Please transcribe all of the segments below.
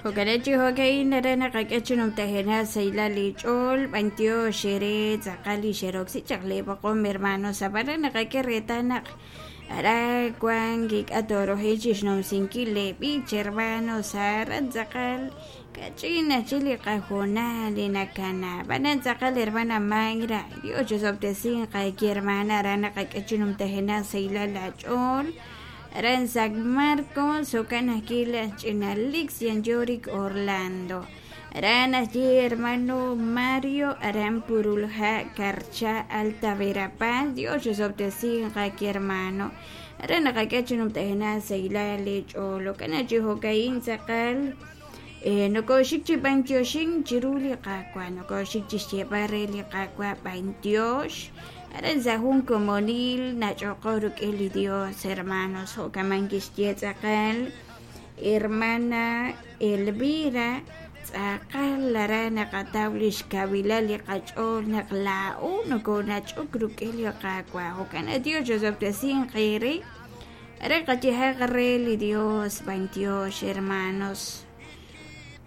Jo'kan chi jo'ka'in re naqak'e chi numtajenaq sahilal li ch'ool b'antiox eere tz'aqal li xeroksi chaq lee b'oqom hermanos ab'an re naqak'e reetal naq aran wan kik'a toroji chi xnumsinkil lee b'ich hermanos aran tz'aqal kach'in ajchik li qahoonal li nakana ab'anan tz'aqal hermana Mayra Dios chisob'tesinq aaki hermana aran naqak'e chi numtajenaq sahilal la ch'ool aran San Marcos jo'kan ajwi' laj ch'ina Lix Yanyorik Orlando aran ajwi' hermano Mario aran Purulha Carcha Alta Verapaz Dios chisob'tesinq aaki hermano aran naqak'e chi numtajenaq sahilal li ch'ool jo'kan chi jo'ka'in tz'aqal nokoxik chi b'antioxink chiru li Qaawa' nokoxik chi xyeeb'al re li Qaawa' b'antiox aran sa' jun komonil nach'oqo rik'in li Dios hermanos jo'kaman kixye tz'aqal hermana Elvira tz'aqal aran naqataw li xkawilal li qach'ool naq laa'o nokonach'ok rik'in li Qaawa' jo'kan Dios chosob'tesinq eere re qayehaq re li Dios b'antiox hermanos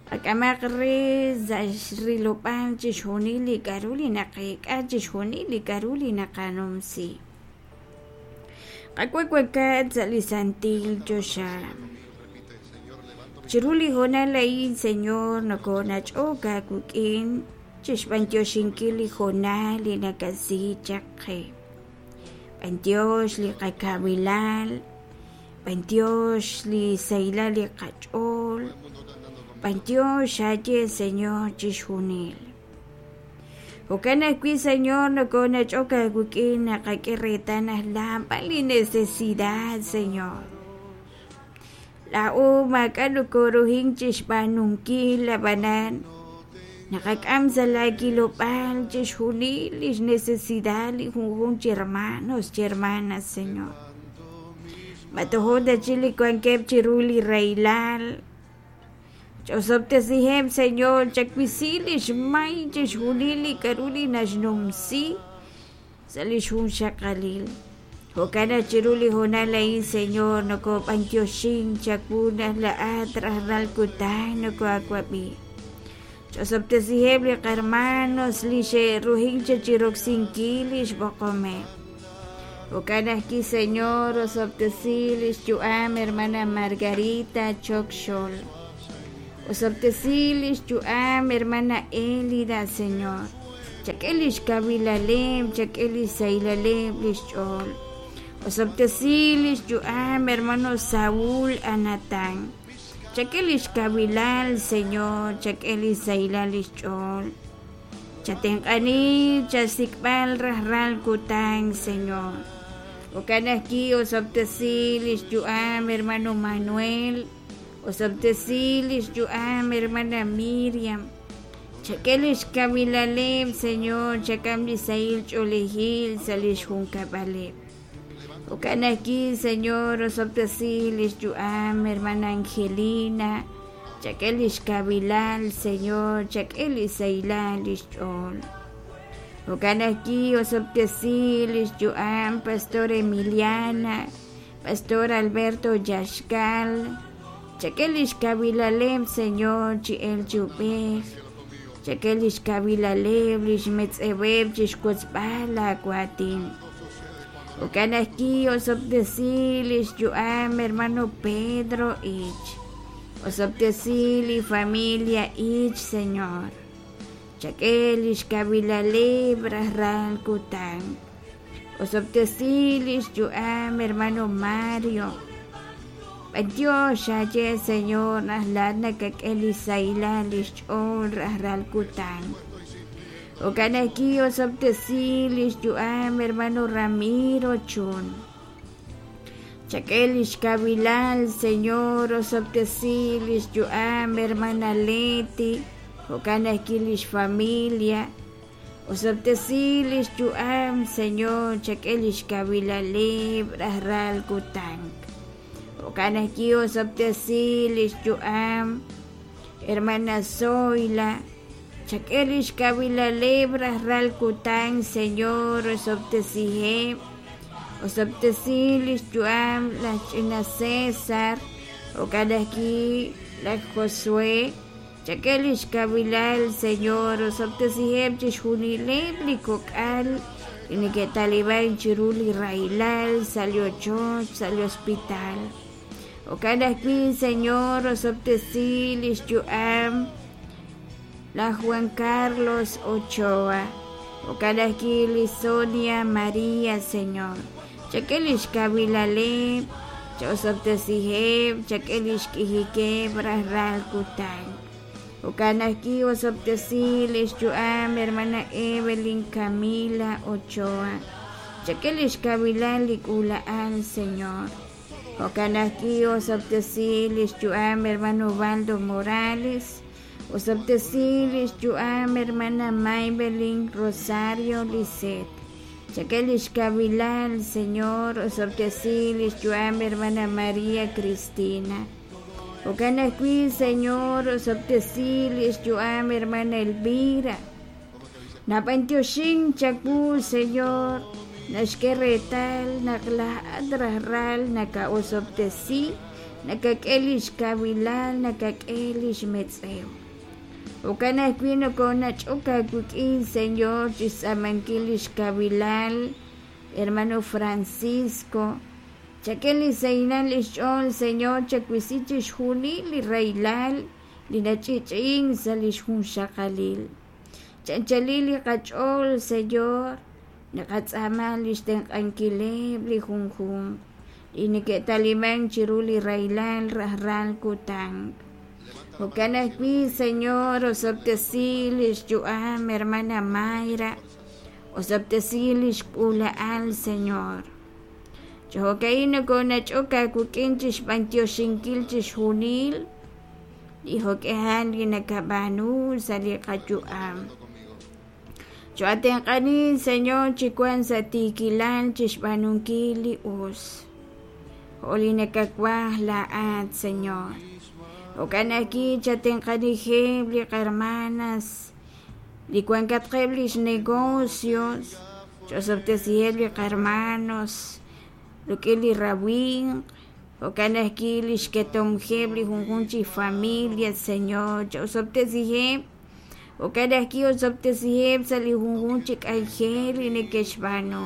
qak'amaq re sa' xrilob'al chixjunil li k'a'ru li naqeek'a chixjunil li k'a'ru li naqanumsi qawawakat sa' li santil choxa chiru li hoonal a'in Señor nokonach'ok aawik'in chixb'antioxinkil li hoonal li nakasi chaq qe b'antiox li qakawilal b'antiox li sahilal li qach'ool b'antiox aaye Señor chixjunil jo'kan ajwi' Señor nokonach'ok aawik'in naqak'e reetal naq naab'al li necesidad Señor laa'o maak'a' nokoruhink chixb'aanunkil ab'anan naqak'am sa' laakilob'aal chixjunil lix necesidad li junjunq chi hermanos chi hermanas Señor ma tojo ta chik li wankeb' chiru li rahilal ch'osob'tesiheb' Señor chawisi lix may chixjunil li k'a'ru li naxnumsi sa' li xjunxaqalil jo'kan naq chiru li hoonal a'in Señor nokob'antioxink chawu naq laa'at rajlal kutan nokoaawab'i ch'osob'tesiheb' li qarmanos li xe'ruhink chiroksinkil li xb'oqomeb' jo'kan ajwi' Señor osob'tesi li xyu'am hermana Margarita Chokxol osob'tesi li xyu'am hermana Elida Señor chak'e li xkawilaleb' chak'e li xsahilaleb' li xch'ool osob'tesi li xyu'am hermano Saúl Anatán chak'e li xkawilal Señor chak'e li xsahilal li xch'ool chatenq'ani chasik'b'al rajlal kutan Señor jo'kan ajwi' osob'tesi li xyu'am hermano Manuel osob'tesi li xyu'am hermana Miriam chak'e li xkawilaleb' Señor chak'am li sahil ch'oolejil sa' li xjunkab'aleb' jo'kan ajwi' Señor osob'tesi li xyu'am hermana Angelina chak'e li xkawilal Señor chak'e li sahilal li xch'ool jo'kan ajwi' osob'tesi li xyu'am Pastor Emiliana Pastor Alberto Yaxcal chak'e li xkawilaleb' Señor chi el chi ub'ej chak'e li xkawilaleb' li xmetz'eweb' chixwotzb'al laawaatin jo'kan ajwi' osob'tesi li xyu'am hermano Pedro Ich osob'tesi li familia Ich Señor chak'e li xkawilaleb' rajlal kutan osob'tesi li xyu'am hermano Mario b'antiox aaye Señor naq laa'at nakak'e li sahilal li xch'ool rajlal kutan jo'kan ajwi' osob'tesi li xyu'am hermano Ramiro Chun chak'e li xkawilal Señor osob'tesi li xyu'am hermana Leti jo'kan ajwi' li xfamilia osob'tesi li xyu'am Señor chak'e li xkawilaleb' rajlal kutan jo'kan ajwi' osob'tesi li xyu'am hermana Zoila chak'e li xkawilaleb' rajlal kutan Señor osob'tesiheb' osob'tesi li xyu'am laj ch'ina César Jo'kan ajwi' laj Josué, chak'e lix kawilal, Señor, osob'tesiheb' chixjunileb' li kok'al li neke'taliban chiru li rahilal sa' li ochoch, sa' li hospital. Jo'kan ajwi', Señor, osob'tesi lix yu'am laj Juan Carlos Ochoa. Jo'kan ajwi' li Sonia María, Señor. Chak'e lix kawilaleb', cha'osob'tesiheb', chak'e lix k'ijikeb' rajlal kutan. Jo'kan ajwi' osob'tesi lix yu'am hermana Evelyn Camila Ochoa. Chak'e lix kawilal li k'uula'al, Señor. Jo'kan ajwi' osob'tesi lix yu'am hermano Ubaldo Morales. Osob'tesi lix yu'am hermana Maybelin Rosario Lisset. Chak'e lix kawilal, Señor. Osob'tesi lix yu'am hermana María Cristina. Jo'kan ajwi', Señor, osob'tesi lix yu'am hermana Elvira. Nab'antioxin chawu, Señor, naxk'e reetal naq laa'at rajlal naka'osob'tesi, nakak'e lix kawilal, nakak'e lix metz'ew. Jo'kan ajwi' nokonach'ok aawik'in, Señor, chixtz'aamankil lix kawilal hermano Francisco. Chak'e li sahilal lix ch'ool, Señor, chawisi chixjunil li rahilal li nach'i'ch'i'in sa' lix junxaqalil. Chanchalil li qach'ool, Señor, naqatz'aama lix tenq'ankileb' li junjunq li neke'taliman chiru li rahilal rajlal kutan. Jo'kan ajwi', Señor, osob'tesi lix yu'am hermana Mayra, osob'tesi lix k'uula'al, Señor. Chi jo'ka'in nokonach'ok aawik'in chixb'antioxinkil chixjunil li jo'k'ihal li nakab'aanu sa' li qayu'am. Cho'atenq'anin, Señor, chi wank sa' tiikilal chixb'aanunkil li us, jo' li nakawaj laa'at, Señor. Jo'kan ajwi' chatenq'anijeb' li qahermanas li wankatqeb' lix negocios, ch'osob'tesiheb' li qahermanos rik'in li rawimq, jo'kan ajwi' lix ketomjeb' li junjunq chi familia, Señor, ch'osob'tesiheb'. Jo'kan ajwi' osob'tesiheb' sa' li junjunq chi k'anjel li neke'xb'aanu.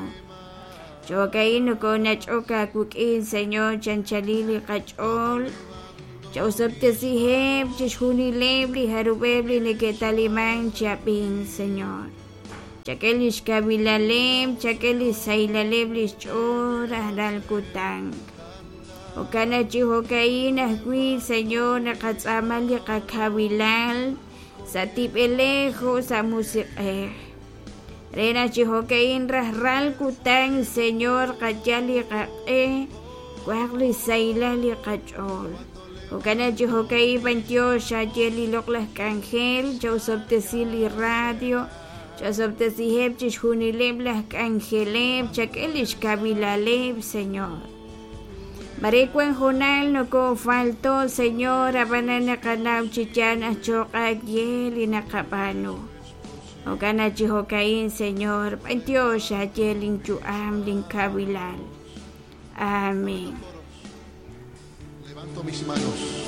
Jo'ka'in nokonach'ok aawik'in, Señor, chanchalil li qach'ool. Cha'osob'tesiheb' chixjunileb' li jarub'eb' li neke'taliman chi ab'ink, Señor. Chak'e lix kawilaleb', chak'e lix sahilaleb' lix ch'ool rajlal kutan. Jo'kan naq chi jo'ka'in ajwi', Señor, naqatz'aama li qakawilal sa' tib'elej jo' sa' musiq'ej. Re naq chi jo'ka'in rajlal kutan, Señor, qayal li qaq'e, wanq li sahilal li qach'ool. Jo'kan naq chi jo'ka'in b'antiox xaye li loq'laj k'anjel, cha'osob'tesi li radio, cha'osob'tesiheb' chixjunileb' laj k'anjeleb', chak'e lix kawilaleb', Señor. Mare wan hoonal nokofalto, Señor, ab'anan naqanaw chi yaal naq cho'q aawe li naqab'aanu. Jo'kan naq chi jo'ka'in, Señor, b'antiox xaye linyu'am, linkawilal. Amén. Levanto mis manos.